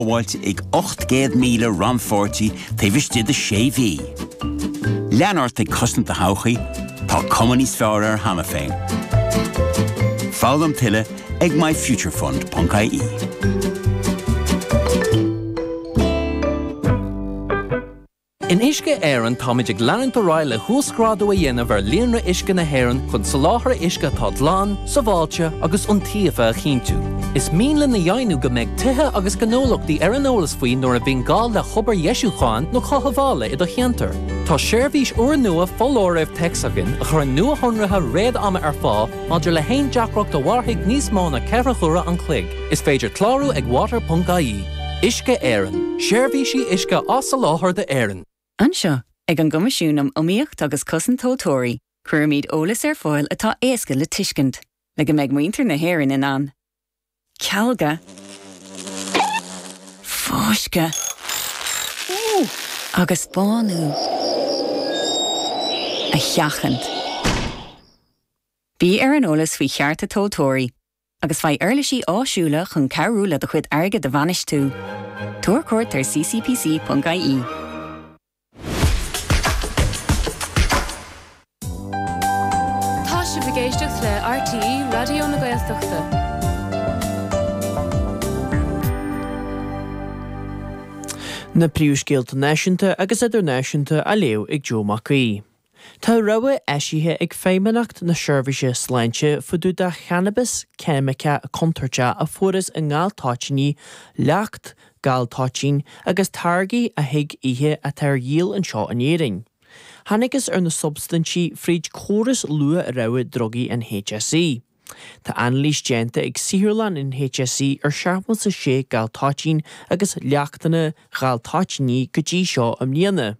Sábháilte ag 800,000 rannpháirtí taobh istigh de sé mhí. Lean ort ag cosaint do thodhchaí, tá cuma níos fearr air cheana féin. Foghlaim tuilleadh ag myfuturefund.ie. In Uisce Éireann táimid ag leanúint ar aghaidh le huasghrádú a dhéanamh ar líonra uisce na hÉireann chun soláthar uisce atá glan, sábháilte agus iontaofa a chinntiú. Is mian linn a dheimhniú go mbeidh tithe agus gnólachtaí ar an eolas faoi nuair a bhíonn gá le hobair dheisiúcháin nó chothabhála i do cheantar. Tá seirbhís úrnua foláirimh téacs againn a chuireann nuashonruithe réad-ama ar fáil maidir le haon deacracht a mhairfidh níos mó ná 4 huaire an chloig. Is féidir clárú ag water.ie. Uisce Éireann, seirbhísí uisce á soláthar d'Éirinn. Anseo, ag an gCoimisiún um Iomaíocht agus Cosaint Tomhaltóirí, cuirimid eolas ar fáil atá éasca le tuiscint, le go mbeidh muintir na hÉireann in ann cealga, fáisceadh agus bánú a sheachaint. Bí ar an eolas faoi chearta tomhaltóirí. agus faigh uirlisí áisiúla chun cabhrú le do chuid airgid a bhainistiú. Tabhair cuairt ar ccpc.ie. Tá sibh ag éisteacht le RTÉ Raidió na Gaeltachta. Na príomhscéalta náisiúnta agus idirnáisiúnta á léamh ag Joe Mac Aoidh. Tá rabhadh eisithe ag Feidhmeannacht na Seirbhíse Sláinte fá dtaobh de channabas ceimiceach contúirteach a fuarthas i ngal toitíní, leacht gal toitín agus táirgí a thig ithe atá ar dhíol anseo in Éirinn. Thángthas ar na substaintí fríd córas luath-rabhadh drugaí an HSE. Tá anailís déanta ag saotharlann an HSE ar 76 gal toitín agus leachtanna gal toitíní go dtí seo i mbliana.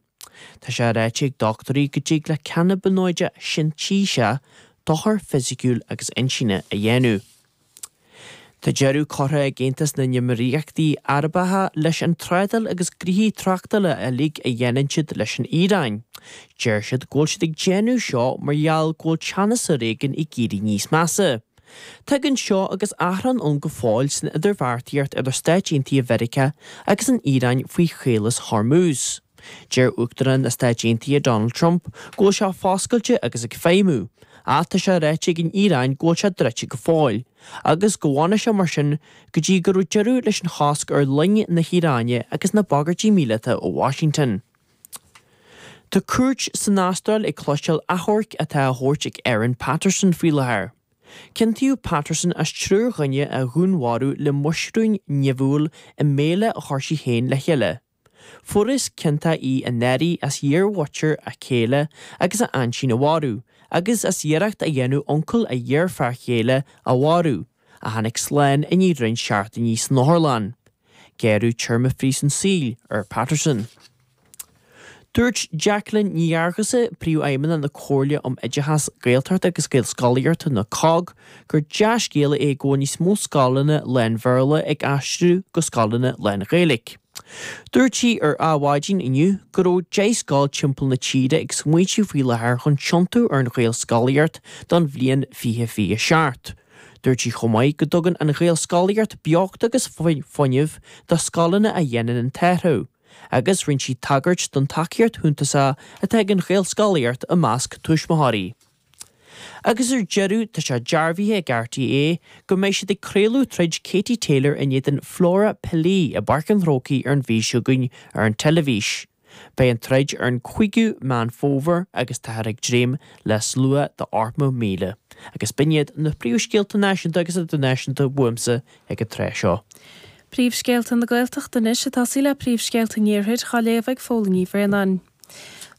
Tá sé ráite ag dochtúirí go dtig le cannabanóide sintéiseach dochar fisiciúil agus intinne a dhéanamh. Tá deireadh curtha ag Aontas na nÉimíríochtaí Arabacha leis an trádáil agus gnoithí tráchtála uilig a dhéanann siad leis an Iaráin. Deir siad go bhfuil siad ag déanamh seo mar gheall go bhfuil teannas ar éigean ag éirí níos measa. Tagann seo agus achrann ann go fóill san idirbheartaíocht idir Stáit Aontaithe Mheiriceá agus an Iaráin faoi Chaolas Hormuz. Deir Uachtarán na Stáit Aontaithe Donald Trump go bhfuil sé foscailte agus ag feidhmiú, ach tá sé ráite ag an Iaráin go bhfuil sé druidte go fóill, agus go bhfanfaidh sé mar sin go dtí go raibh deireadh leis an chosc ar loing na hIaráine agus na bagairtí míleata ó Washington. Tá cúirt san Astráil ag cloisteáil achomhairc atá á thabhairt ag Erin Patterson faoi láthair. Ciontaíodh Patterson as triúr dhuine a dhúnmharú le muisriúin nimhiúil i mbéile a chuir sí féin le chéile. Fuarthas ciontach í anuraidh as iarmhuintir a céile agus a aintín a mharú, agus as iarracht a dhéanamh uncail a iarfhear chéile a mharú, a tháinig slán i ndiaidh roinnt seachtainí san otharlann. Gearradh téarma phríosún saoil ar Patterson. Dúirt Jacqueline Ní Fhearghusa, Príomhfheidhmeannach na Comhairle um Oideachas, Gaeltachta agus Gaelscolaíochta, nó COGG, gur dea-scéala é go bhfuil níos mó scoileanna lán-Bhéarla ag aistriú go scoileanna lán-Ghaeilge. Dúirt sí ar Adhmhaidin inniu go raibh 10 scoil timpeall na tíre ag smaointiú faoi láthair chun tiontú ar an Ghaelscolaíocht don bhliain 2027. Dúirt sí chomh maith go dtugann an Ghaelscolaíocht beocht agus fuinneamh do scoileanna a dhéanann an t-athrú. agus rinne sí tagairt don tacaíocht shuntasach atá ag an Ghaelscolaíocht i measc tuismitheoirí. Agus ar deireadh, tá sé dearbhaithe ag RTÉ go mbeidh siad ag craoladh troid Katie Taylor in éadan Flora Pilley i bPáirc an Chrócaigh ar an mhí seo chugainn ar an teilifís. Beidh an troid ar an 5ú Meán Fómhair agus táthar ag dréim le slua de 80,000. Agus b'in iad na príomhscéalta náisiúnta agus idirnáisiúnta uaimse ag an tráth seo. Príomhscéalta na Gaeltachta anois ag tosaí le príomhscéalta an Iarthair á léamh ag Fódhla Ní Bhraonáin.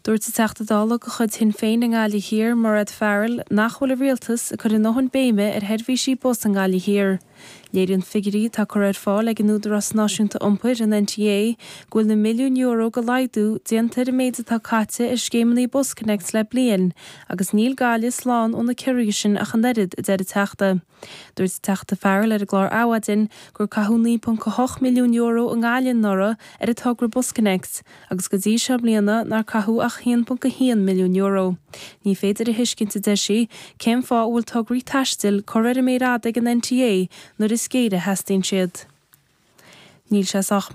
Dúirt an Teachta Dála de chuid Shinn Féin i nGaillimh Thiar, Mairéad Farrell, nach bhfuil an Rialtas ag cur a ndóthain béime ar sheirbhísí bus i nGaillimh Thiar. Léiríonn figiúirí atá curtha ar fáil ag an Údarás Náisiúnta Iompair, an NTA, go bhfuil na milliúin euro de laghdú déanta ar an méid atá caite ar scéimeanna BusConnects le bliain agus níl Gaillimh slán ó na ciorruithe sin ach an oiread, a deir an Teachta. Dúirt an Teachta Farrell ar an gclár Adhmhaidin gur caitheadh €9.8 milliún i nGaillimh anuraidh ar an togra BusConnects agus go dtí seo i mbliana nár caitheadh ach €1.1 milliún. Ní féidir a thuiscint, a deir sí, cén fáth a bhfuil tograí taistil curtha ar an méar fhada ag an NTA nuair is géire a theastaíonn siad. Níl sé sách maith.